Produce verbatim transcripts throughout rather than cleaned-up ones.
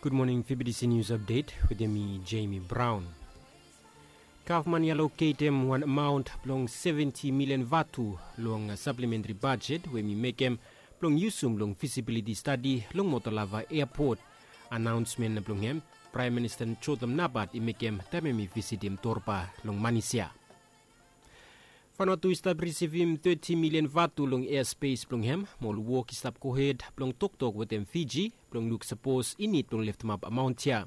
Gud moning, V B T C News Update wetem mi, Jamie Brown. Gavman i aloketem wan amaon blong seventi milian vatu long saplementri bajet we mi mekem blong yusum long fisibiliti stadi long Motolava Eapot. Anaonsmen blong hem Praem Minista Jotham Napat i mekem taem hem i visitim Torba long Manis ya. Vanuatu i stap risivim teti milian vatu long easpes blong hem, mo ol wok i stap gohed blong toktok wetem Fiji blong luk sapos i nid blong leftemap amaon ya.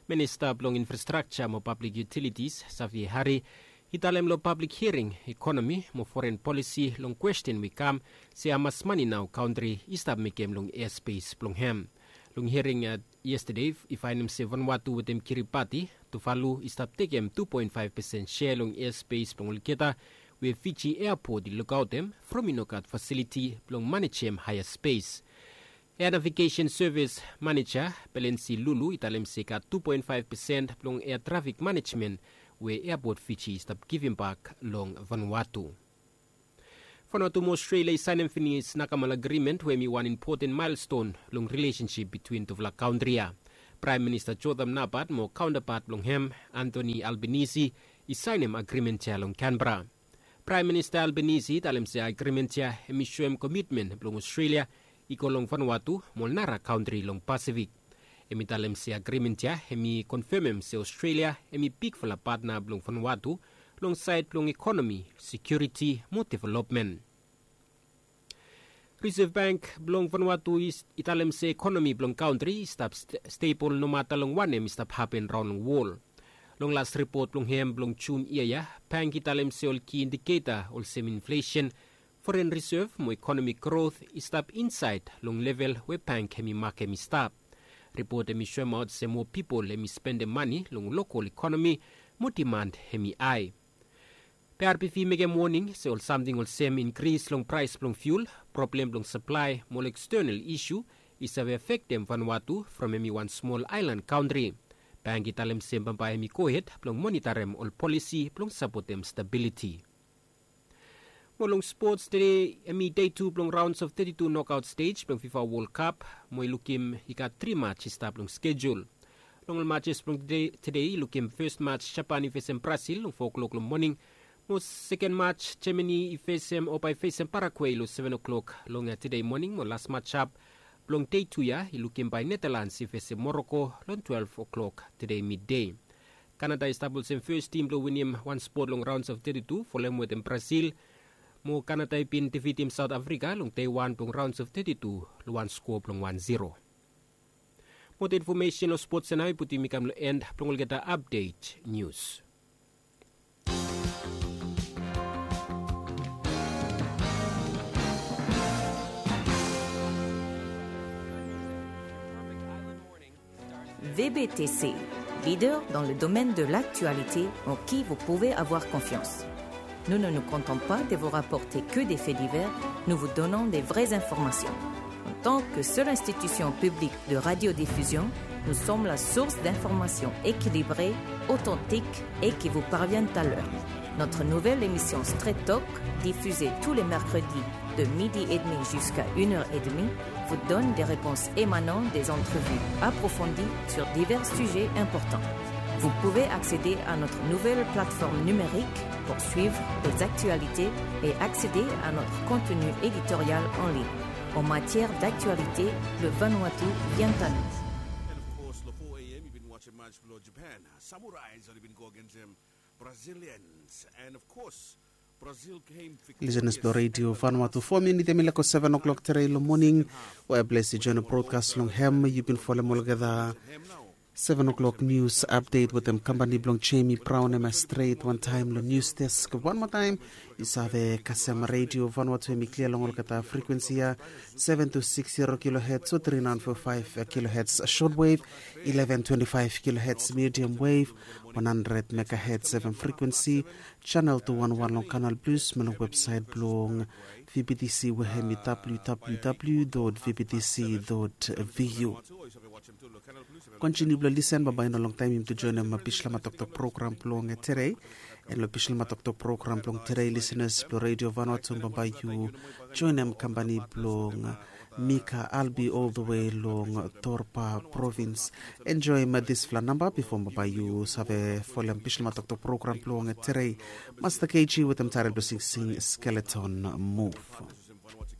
Minista blong Infrastrakja mo Pablik Yutilitis, Safi Hari, i talem long pablik hiaring ekonomi mo foren polisi long kwesten we i kam se hamas mane nao kantri i stap mekem long easpes blong hem. Long hiaring yestede i faenem se Vanuatu wetem Kiribati, Tuvalu i stap tekem tu poen faef pesen sea long easpes blong olgeta, we Fiji Eapot i lukaotem from i no gat fasiliti blong manejem haea spes. Ea Navigesen Sevis Maneja Belensi Lulu i talem se i gat tu poen faef pesen blong ea trafik manejmen we Eapot Fiji i stap givimbak long Vanuatu. Vanuatu mo Australia i saenem finis Nakamal Agrimen we hem i wan impoten maelston long rilesensip bitwin tufala kantri ya. Praem Minista Jotham Napat mo kaontapat blong hem, Anthony Albanese, i saenem agrimen ya long Canberra. Praem Minista Albanese i talem se agrimen ya hem i soem komitmen blong Australia i go long Vanuatu mo ol nara kantri long Pasifik. Hem i talem se agrimen ya hem i konfemem se Australia hem i bigfala patna blong Vanuatu long saed blong ekonomi, sekiuriti mo developmen. Reserve Bank blong Vanuatu i talem se ekonomi blong kantri i stap stebol nomata long wanem i stap hapen raon long wol. Long las ripot blong hem blong Jun yia ya, bank i talem se ol ki indiketa olsem inflesen, foren risev mo ekonomi grot i stap insaed long level we bank hem i makem i stap. Ripot hem i soemaot se moa pipol hem i spendem mane long lokol ekonomi mo diman hem i hae. Be RBV i mekem woning se ol samting olsem inkris long praes blong fiul, problem blong saplae mo ol ekstenal isu i save afektem Vanuatu from hem i wan smol aelan kantri. Bank i talem se bambae hem i gohed blong monitarem ol polisi blong sapotem stabiliti. Mo long spots, tede hem i dei tu blong raons of teti tu nokaot stej blong Fifa Wol Kap, mo i lukim i gat tri mats i stap long skejul. Long ol matses blong tede i lukim fes mats Japan i fesem Brasil long fo klok long moning, mo seken mats Jamani i fesem o bae fesem Paragwe long seven o'clock long tede moning, mo las matsap blong dei tu ya i lukim bae Netalans i fesem Moroko long twelve o'clock tede midei. Kanada i stap olsem fes tim blong winim wan spot long raons of teti tu folem wetem Brasil. Mo Kanada i bin defitim Saot Afrika long dei wan blong raons of teti tu long wan skoa blong wan zero. Mo ol infomesen long spots ya nao i putum mi kam long en blong olgeta apdet nius. V B T C, leader dans le domaine de l'actualité en qui vous pouvez avoir confiance. Nous ne nous contentons pas de vous rapporter que des faits divers, nous vous donnons des vraies informations. En tant que seule institution publique de radiodiffusion, nous sommes la source d'informations équilibrées, authentiques et qui vous parviennent à l'heure. Notre nouvelle émission Straight Talk, diffusée tous les mercredis de midi et demi jusqu'à une heure et demie, vous donne des réponses émanant des entrevues approfondies sur divers sujets importants. Vous pouvez accéder à notre nouvelle plateforme numérique pour suivre les actualités et accéder à notre contenu éditorial en ligne. En matière d'actualité, le Vanuatu vient à nous. Lisenas blong redio Vanuatu, fo minit hemi lako seven o'clock tede long moning. We blesi join brodkas long hem. Yu bin folem olgeta seven o'clock nius apdet wetem kampani blong Jemi Braon, hemia stret wantaem long nius desk. Wanmoa taem, yu save kasem redio Vanuatu hemi klia long olgeta frikwensi ya, seven two six zero kilohets o three nine four five kilohets shortwave, eleven twenty-five kilohets medium wave, one hundred megahertz seven frikwensi, channel two one one long Canal Plus, mo long websaet blong V B T C we hemi www dot vbtc dot vu. Kontiniu blong lisen, bambae i no longtaem yumi tu joenem Bislama Toktok program blong tede. An long Bislama Toktok program blong tede, lisenas blong redio Vanuatu, bambae yu joenem kampani blong Mika Albi all the way long Torpa Province. Enjoy ma dispela namba before ma bai you save folem Bishlama Toktok program blong Terei. Master K G with them title blessing sing skeleton move.